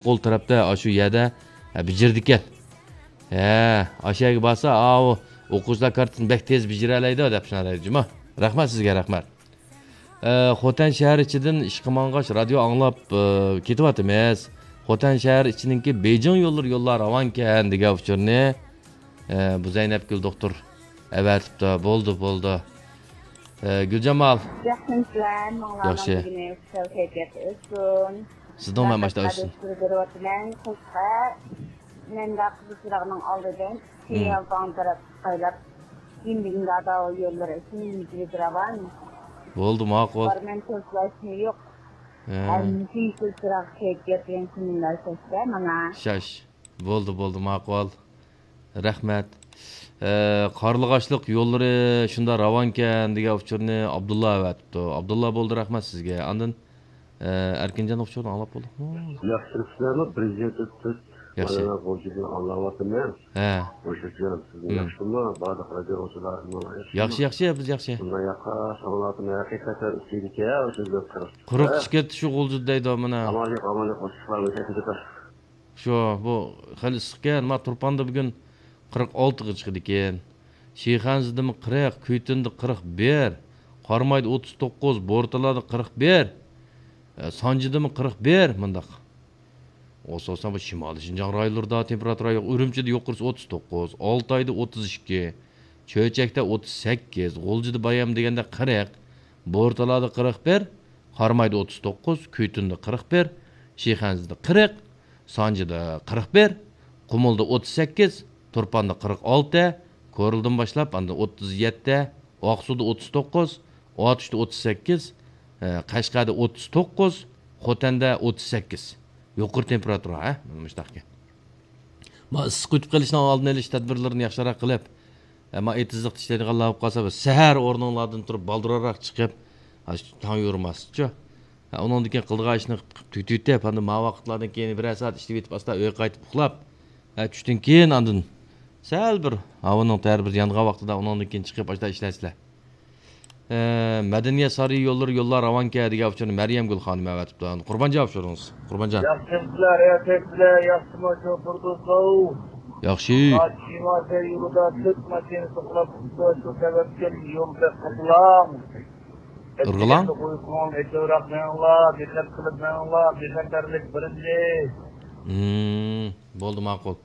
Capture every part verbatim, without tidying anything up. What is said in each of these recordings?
قول تەرەپتە، ئاشۇ يەردە، ھە، بېجىرىدىكەن. ھە، ئاشۇ يەرگە بارسا، ئاۋۇ ئوقۇغۇچىلار كارتىسىنى بەك تېز بېجىرەلەيدۇ دەپ شۇنداق دەيدۇ جۇما. رەھمەت سىزگە، رەھمەت. ئە، خوتەن شەھەر ئىچىدىن ئىشقا ماڭغاچ رادىيو ئاڭلاپ، ئە، كېتىۋاتىمىز. خوتەن شەھەر ئىچىنىڭكى بېيجىڭ يوللىرى يوللار راۋانكەن دېگەن ئۇچۇرنى، ئە، بۇ زەينەپگۈل دوختۇر ئەۋەتىپتۇ. بولدى، بولدى. ئە، گۈلجامال. ياخشىمۇسىلەر؟ ماڭلارنىڭ ياخشى. بۈگۈنى خۇشال كەيپىياتى ئۆتسۇن. سىزنىڭ مەن ماشتا ئۆتسۇن. تەشەككۈر بېرىۋاتىمەن. قىزغا مەندە قىزىل چىراغنىڭ ئالدىدىن، مم، سىيالتاڭ تەرەپ قايلاپ، كېيىن بۈگۈنگە ئاداۋا يوللىرى ئۈچۈن يۈز راۋان. بولدى، ماقۇل. بارمەن، كۆزلەشمە يوق. ھە. ھەممىسى يېشىل چىراغ كەيپىيات بىلەن كۈنلەر شاشتا مانا. شاش. بولدى، بولدى، ماقۇل. رەھمەت. ئە، قارلىغاچلىق يوللىرى شۇنداق راۋانكەن دېگەن ئۇچۇرنى ئابدۇللا ئەۋەتىپتۇ. ئابدۇللا، بولدى، رەھمەت سىزگە. ئاندىن، ئە، ئەركىنجاننىڭ ئۇچۇرىنى ئاڭلاپ بولدۇقمۇ؟ ياخشىمۇسىلەرمۇ؟ بىرىنچى تۈرت ياخشى. مانا غۇلجىدىن ئاڭلاۋاتىمەن. ھە. غۇلجىجان، سىزمۇ، ھىم، ياخشىمۇ؟ بارلىق رادىئو ئاڭلىغۇچىلار ياخشىمۇ؟ ياخشى، ياخشى، بىز ياخشى. شۇنداق ياقا ئاڭلاۋاتىمەن. ھەقىقەتەن ئىسسىيدىكەن شۇ قىرىق. قىرىق چىقىۋەتتى شۇ غۇلجىدا دەيدۇ مانا. ئامان يوق، ئامان يوق، ئوتتۇز بار. شۇ، بۇ خېلى ئىسسىقكەن. ما تۇرپاندا بۈگۈن قىرىق ئالتىغا چىقىدىكەن. شىخەنزىدىمۇ قىرىق، كۈيتۈندە قىرىق بىر، قارامايدا ئوتتۇز توققۇز، بورتالادا قىرىق بىر، ئە، سانجىدىمۇ قىرىق بىر، مۇنداق. ئوسۇلسا بۇ شىمالىي شىنجاڭ رايونلىرىدا تېمپېراتۇرا يوق. ئۈرۈمچىدە يۇقىرىسى ئوتتۇز توققۇز، ئالتايدا ئوتتۇز ئىككى، چۆچەكتە ئوتتۇز سەككىز، غۇلجىدا بايام دېگەندە قىرىق، بورتالادا قىرىق بىر، قارامايدا ئوتتۇز توققۇز، كۈيتۈندە قىرىق بىر، شىخەنزىدە قىرىق، سانجىدا قىرىق بىر، قۇمۇلدا ئوتتۇز سەككىز، تۇرپاندا قىرىق ئالتە، كورلىدىن باشلاپ ئاندىن ئوتتۇز يەتتە، ئاقسۇدا ئوتتۇز توققۇز، ئاتۇشتا ئوتتۇز سەككىز، ئە، قەشقەردە ئوتتۇز توققۇز، خوتەندە ئوتتۇز سەككىز. يۇقىرى تېمپېراتۇرا، ھە؟ مانا مۇشۇنداقكەن. ما ئىسسىق ئۆتۈپ قېلىشنىڭ ئالدىنى ئېلىش تەدبىرلىرىنى ياخشىراق قىلىپ، ئەمما ئېتىزلىقتا ئىشلەيدىغانلار بولۇپ قالسا، بىر سەھەر ئورنۇڭلاردىن تۇرۇپ، بالدۇرراق چىقىپ، ھە، شۇ تاڭ يورۇماستىچۇ. ھە، ئۇنىڭدىن كېيىن قىلىدىغان ئىشنى قىلىپ تۈگىتىۋېتىپ، ئاندىن ما ۋاقىتلاردىن كېيىن بىرەر سائەت ئىشلىۋېتىپ، ئاستا ئۆيگە قايتىپ ئۇخلاپ، ھە، چۈشتىن كېيىن ئاندىن سەل بىر ھاۋانىڭ تەرى بىر يانغان ۋاقتىدا ئۇنىڭدىن كېيىن چىقىپ، ئاشۇنداق ئىشلەيسىلەر. ئە، مەدەنىيەت سارىيى يوللىرى يوللار راۋانكەن دېگەن ئۇچۇرنى مەريەمگۈل خانىم ئەۋەتىپتۇ. قۇربانجان ئۇچۇرىڭىز. قۇربانجان. ياخشىمۇسىلەر، يا كەيپلەر، ياخشىمۇ شۇ تۇردۇزلار؟ ياخشى. شىمالسە يولىدا تۆت ماشىنا توقۇنۇپ، شۇ سەۋەبتىن يول بەك قىزغىن. قىزغىن؟ ئېتىزلاردا ئۇيقۇڭ ئېچىلراق مېڭىڭلار، دىققەت قىلىپ مېڭىڭلار، بىخەتەرلىك بىرىنچى. ھىم، بولدى، ماقۇل.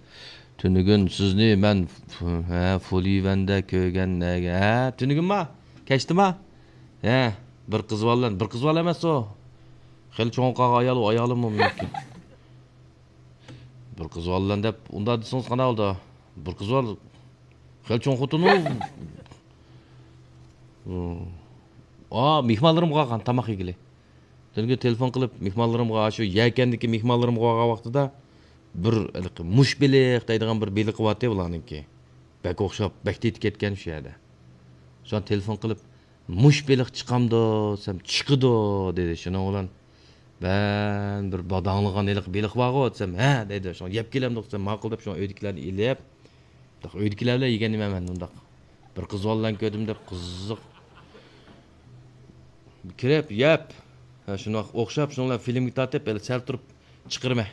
تۈنۈگۈن سىزنى مەن ف-، ھە، فۇلىۋەندە كۆرگەن نەگە؟ ھە، تۈنۈگۈنما؟ كەچتىما؟ ھە، بىر قىز بار بىلەن، بىر قىز بار ئەمەس ئۇ. خېلى چوڭ قالغان ئايال، ئۇ ئايالىممۇ مۇمكىن. بىر قىز بار بىلەن دەپ، ئۇنداق دېسىڭىز قانداق بولىدۇ؟ بىر قىز بار، خېلى چوڭ خوتۇن ئۇ. ئا، مېھمانلىرىمغا قالغان تاماق يېگىلى. تۈنۈگۈن تېلېفون قىلىپ، مېھمانلىرىمغا، شۇ يەكەندىكى مېھمانلىرىمغا بارغان ۋاقتىدا بىر ھېلىقى مۇش بېلىق دەيدىغان بىر بېلىقى بارتى بۇلارنىڭكى. بەك ئوخشاپ، بەك تېتى كەتكەن شۇ يەردە. شۇڭا تېلېفون قىلىپ، «مۇش بېلىق چىقامدۇ؟» دېسەم، «چىقىدۇ» دېدى. شۇنىڭ بىلەن مەن بىر باداڭلىغان ھېلىقى بېلىق بارغۇ دېسەم، «ھە» دەيدۇ. شۇڭا يەپ كېلەمدۇق دېسەم، ماقۇل دەپ شۇڭا ئۆيدىكىلەرنى ئېلىپ، ئۆيدىكىلەر بىلەن يېگەن نېمە مەن ئۇنداق. بىر قىز بالا بىلەن كۆردۈم دەپ قىزىق. كىرىپ، يەپ. ھە، شۇنداق ئوخشاپ، شۇنىڭ بىلەن فىلىمگە تارتىپ، ھېلى سەل تۇرۇپ چىقىرىمەن.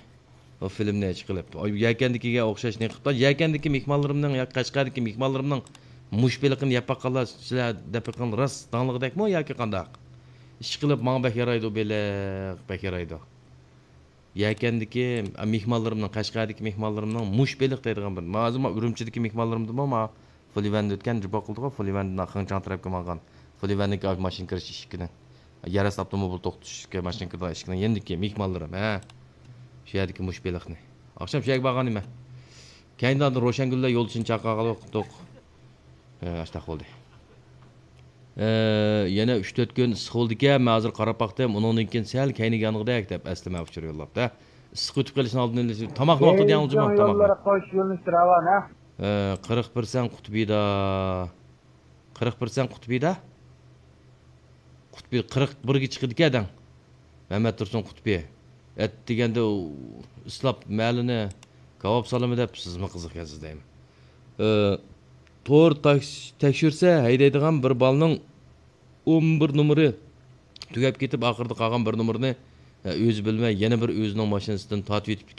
ئۇ فىلىمنى چىقىرىپ. ئاي، يەكەندىكىگە ئوخشاش نېمە قىلىپتۇ. يەكەندىكى مېھمانلىرىمنىڭ ياكى قەشقەردىكى مېھمانلىرىمنىڭ مۇش بېلىقىنى يەپ باققانلار، سىلەر دەپ بېقىڭ، راست داڭلىقىدەكمۇ ياكى قانداق؟ ئىشقىلىپ، ماڭا بەك يارايدۇ بېلىق، بەك يارايدۇ. يەكەندىكى، ئە، مېھمانلىرىمنىڭ، قەشقەردىكى مېھمانلىرىمنىڭ مۇش بېلىق دەيدىغان بىر، ھازىر ما ئۈرۈمچىدىكى مېھمانلىرىمدىمۇ ما فۇلىۋەندە ئۆتكەن جۇپا قىلدىغۇ، فۇلىۋەندىن خېڭچاڭ تەرەپكە ماڭغان. فۇلىۋەندىكى ماشىنا كىرىش ئىشىكىنىڭ، يەر ئاستى ئاپتوموبىل توختىتىش ماشىنا كىرىدىغان ئىشىكىنىڭ يېنىدىكى مېھمانلىرىم، ھە. شۇ يەردىكى مۇش بېلىقنى. ئاخشام شۇ يەرگە بارغان ئىدىم. كەينىدىن روشەنگۈللەر يولدىشىنى چاقىرغان ۋاقىتتا، ھە، ئاشتاق بولدى. ئە، يەنە ئۈچ تۆت كۈن ئىسسىق بولىدىكەن، مەن ھازىر قاراپ باقتىم، ئۇنىڭدىن كېيىن سەل كەينىگە يانغۇدەك دەپ ئەسلىمە ئۇچۇر يوللاپتۇ. ئىسسىق ئۆتۈپ قېلىشنىڭ ئالدىنى ئېلىش. تاماقنى ۋاقتىدا يەڭ جۇمۇ، تاماقنى. يوللىرى قوش يۆنىلىشتە راۋان، ھە؟ ئە، قىرىق بىر سەن قۇتبىدا. قىرىق بىر سەن قۇتبىدا؟ قۇتبى قىرىق بىرگە چىقىدىكەن دەڭ. مەمەتتۇرسۇن قۇتبى. ئەتىگەندە ئۇ ئىسلاپ مەلىنى كاۋاپ سالىمەن دەپ سىزمۇ قىزىقكەنسىز دەيمەن. ئە، تور تاكس-، تەكشۈرسە ھەيدەيدىغان بىر بالىنىڭ ئون بىر نومۇرى تۈگەپ كېتىپ، ئاخىرىدا قالغان بىر نومۇرنى ئۆزى بىلمەي يەنە بىر ئۆزىنىڭ ماشىنىسىدىن تارتىۋېتىپتىكەن.